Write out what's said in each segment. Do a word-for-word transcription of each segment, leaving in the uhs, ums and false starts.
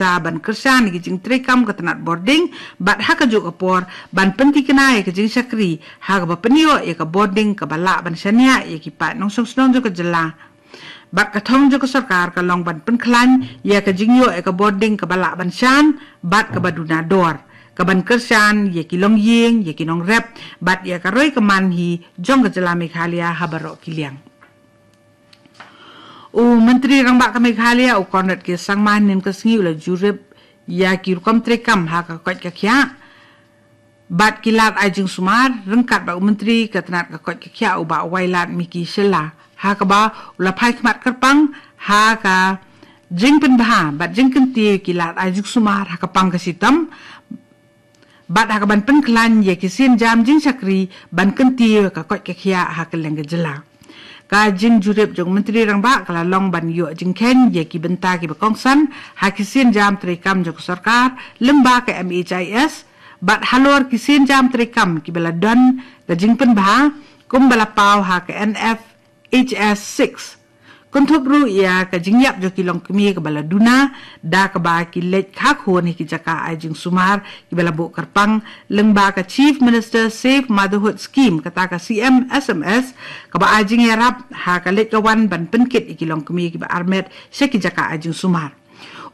ban kyrshan ïa ki jingtreikam ka tnat bording, bad ha kajuh ka por ban pyntikna ïa ka jingshakri ha kaba pynïoh ïa ka bording kaba lah ban shaniah ïa ki paid nongshong shnong jong ka jylla. Bad ka thong jong ka sorkar ka long ban pynkhlaiñ ïa ka jingïoh ïa ka bording kaba lah ban shan bad kaba duna dor, kaban kyrshan ïa ki longïing, ïa ki nongrep, bad ïa ka roi ka man hi jong ka jylla Meghalaya ha baroh ki liang. U Myntri Rangbah ka Meghalaya, u Conrad K Sangma, hynnin ka sngi u la jurip ïa ki rukom treikam ha ka koit ka khiah bad ki lad ai jingsumar, ryngkat bad u Myntri ka tnat ka koit ka khiah, u Bah Wailadmiki Shylla, ha kaba u la phai khmat kyrpang ha ka jingpynbha bad jingkyntiew ki lad ai jingsumar ha ka pang ka shitom, bad ha kaban pynkhlaiñ ïa ki sienjam jingshakri ban kyntiew ka koit ka khiah ha kylleng ka jylla. Ka jingjurip jong u Myntri Rangbah ka la long ban ïoh jingkheiñ ïa ki bynta kiba kongsan ha ki sienjam treikam jong ka sorkar lyngba ka M H I S, bad halor ki sienjam treikam kiba la don ka jingpynbha, kumba la paw ha ka N F H S six. Kynthup ruh ïa ka jingïap jong ki longkmie kaba la duna, da kaba ki leit kha khun ha ki jaka ai jingsumar kiba la buh kyrpang, lyngba ka Chief Minister Safe Motherhood Scheme, kata ka C M S M S, kaba ai jingïarap ha ka leit ka wan ban pynkit ïa ki longkmie kiba armet sha ki jaka ai jingsumar.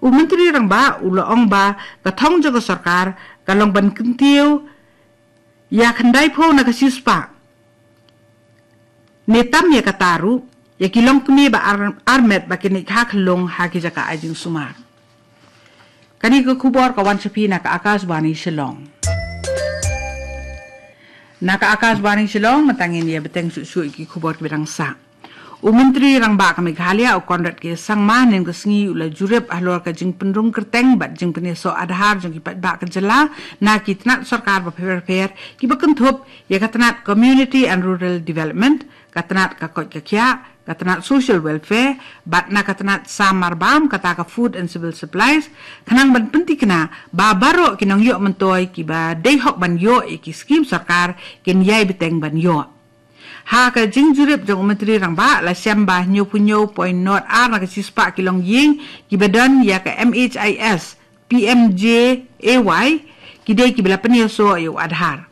U Myntri Rangbah u la ong ba ka thong jong ka sorkar ka long ban kyntiew ïa khyndai phew na ka shispah, ne tam ïa kata ruh, ïa ki longkmie ba ar-, armet ba kin ïa kha khlung ha ki jaka ai jingsumar. Kane ka khubor ka wan sha phi na ka Akashvani Shillong. Na ka Akashvani Shillong, mynta ngin ïa bteng shuh shuh ïa ki khubor kiba dang sah. U Myntri Rangbah ka Meghalaya, u Conrad K Sangma, hynnin ka sngi u la jurip halor ka jingpynrung kyrteng bad jingpynïasoh Aadhaar jong ki paidbah ka jylla na ki tnat sorkar bapher bapher, kiba kynthup ïa ka tnat Community and Rural Development, ka tnat ka koit ka khiah, ka tnat Social Welfare, bad na ka tnat sam marbam, kata ka Food and Civil Supplies, khnang ban pyntikna ba baroh ki nongïoh myntoi kiba dei hok ban ïoh ïa ki skhim sorkar kin ïai bteng ban ïoh. Ha ka jingjurip jong u Myntri Rangbah, la shem ba hynñiewphew hynñiew point nod ar na ka shispah ki longïing kiba don ïa ka M H I S, P M J A Y, ki dei kiba la pynïasoh ïa u Aadhaar.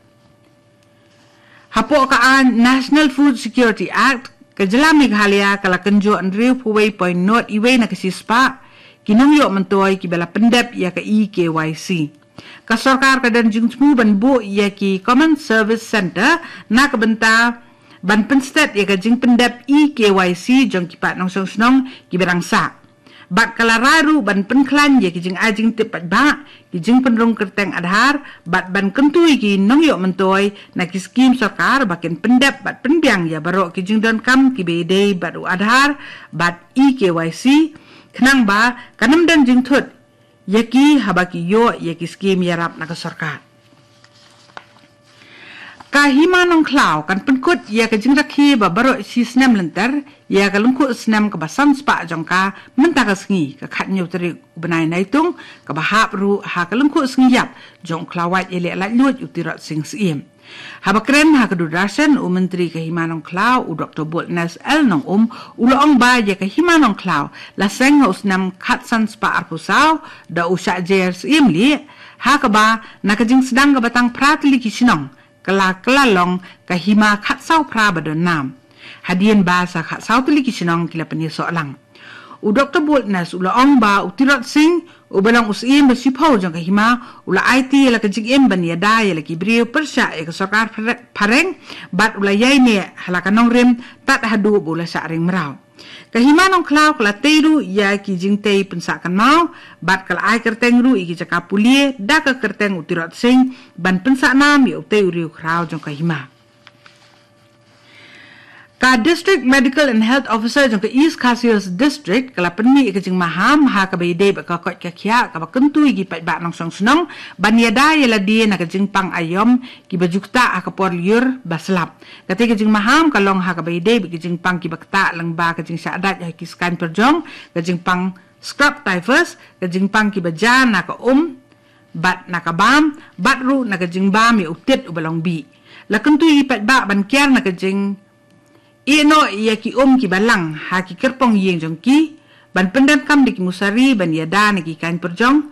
Hapoh ka aiñ National Food Security Act, ka jylla Meghalaya ka la kynjoh hynriewphew wei point nod wei na ka shispah ki nongïoh myntoi kiba la pyndep ïa ka E K Y C. Ka sorkar ka don jingthmu ban buh ïa ki Common Service Centre na ka bynta ban pynstet ïa ka jingpyndep E K Y C jong ki paid nongshong shnong kiba dang sah. Bad ka la rai ruh ban pynkhlaiñ ïa ki jingai jingtip paidbah, ki jingpynrung kyrteng Aadhaar, bad ban kyntu ïa ki nongïoh myntoi na ki skhim sorkar ba kin pyndep bad pynbiang ïa baroh ki jingdonkam kiba ïadei bad u Aadhaar bad E K Y C, khnang ba kan ym don jingthut ïa ki haba ki ïoh ïa ki skhim ïarap na ka sorkar. Ka Hima Nongkhlaw kan pynkut ïa ka jingrakhe ba baroh shi snem lynter ïa ka lyngkhuh snem kaba san spah jong ka mynta ka sngi, ka khathynñiew tarik u bnai Naitung, kaba hap ruh ha ka lyngkhuh sngi ïap jong u khlawait ïaleh laitluid u Tirot Sing Syiem. Haba kren ha ka Doordarshan, u Myntri ka Hima Nongkhlaw, u Doktor Boldness L Nongum, u la ong ba ïa ka Hima Nongkhlaw la seng ha u snem khatsan spah arphew saw da u Shah Jer Syiemlieh, ha kaba na ka jingsdang kaba tang phra tylli ki shnong, ka la kylla long ka hima khatsaw phra ba don nam. Hadien ba sa khatsaw tylli ki shnong ki la pynïasoh lang. U Doktor Boldness u la ong ba u Tirot Sing, uba long u Syiem ba shiphew jong ka hima, u la aiti ïa la ka jingim ban ïada ïa la ki briew pyrshah ïa ka sorkar phre-, phareng, bad u la ïaineh ha la ka nongrim tad haduh ba u la shah ring mraw. Ka Hima Nongkhlaw ka la tei ruh ïa ki jingtei pynsah kynmaw, bad ka la ai kyrteng ruh ïa ki jaka pule da ka kyrteng u Tirot Sing, ban pynsah nam ïa utei u riewkhraw jong ka hima. Ka District Medical and Health Officer jong ka East Khasi Hills District ka la pynmih ïa ka jingmaham ha kaba ïadei bad ka koit ka khiah kaba kyntu ïa ki paidbah nongshong shnong ban ïada ïa lade na ka jingpang aïom kiba ju ktah ha ka por lyiur ba slap. Katei ka jingmaham ka long ha kaba ïadei bad ki jingpang kiba ktah lyngba ka jingshah dait ha ki skaiñ pyrjong, ka jingpang scrub typhus, ka jingpang kiba jia na ka um bad na ka bam, bad ruh na ka jingbam ïa u tit uba long bih. La kyntu ïa ki paidbah ban kiar na ka jingïehnoh ïa ki um kiba lang ha ki kyrpong ïing jong ki, ban pyndonkam da ki musari ban ïada na ki kaiñ pyrjong,